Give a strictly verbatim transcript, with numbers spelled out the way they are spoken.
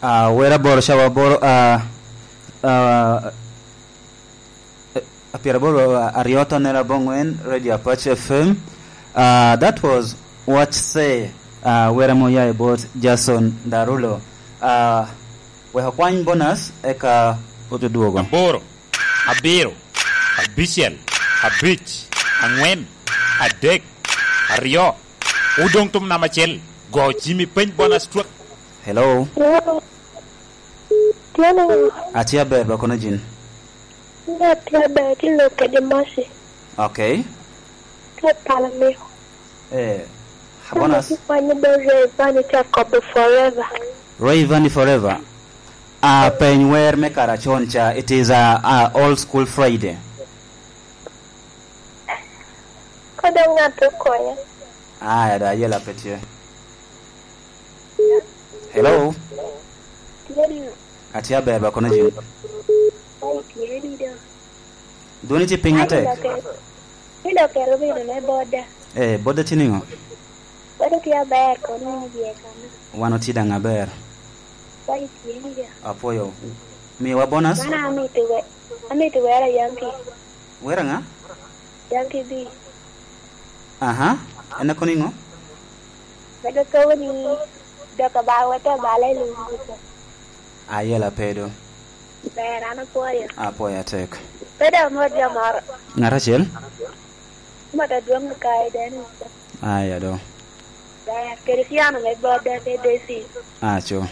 Ah, wer aboro, cawa aboro, ah, ah, eh, pyeraboro aryo tonnere abongwen, Radio Apache F M. Ah, that was What Say, ah, wer ame oya i bot Jason Darulo. Ah, wek okwany bonus, eka ote dwogo. Aboro, abiro, abicel, abic, aŋwen, adek, aryo. Odoŋ tum namba acel. Go Jimmy peny bonus twak. Hello. Hello. Tye niŋo? Atye aber, ba kono jin. Nga tye aber, tye lok kede Mercy. Okay. Tye pala mio. Eh, bonus. Tye kwanyo be Rayvanny tye akobo forever. Rayvanny forever. Ah, peny wer me kara con ca, it is a, a old school Friday. Ka dong ŋat okonya. Aya, da, ayela pe tye. Hello? Tye niŋo? Atye aber, ba kono jin. Ai, tye ni do. Dwoni tye piny atek. Ni do kero bino me boda. Eh, boda tye niŋo? Boda tye aber, kono ni bye kano. Wan otye daŋ aber. Ai, tye ni do. Apwoyo. Miwa bonus? Mano amito we-, amito wera Yankee. Wera ŋa? Yankee B. Aha, en akobo niŋo? Mego kobo ni dok abal wete abala i lum kuca. Ayela pe do. Ber, an apwoyo. Apwoyo atek. Pe dok amot jo moro. Ŋat acel? Mot adwoŋ okayo Dennis. Aya do. Ber, kede piano me boda pe Daisy. Aco.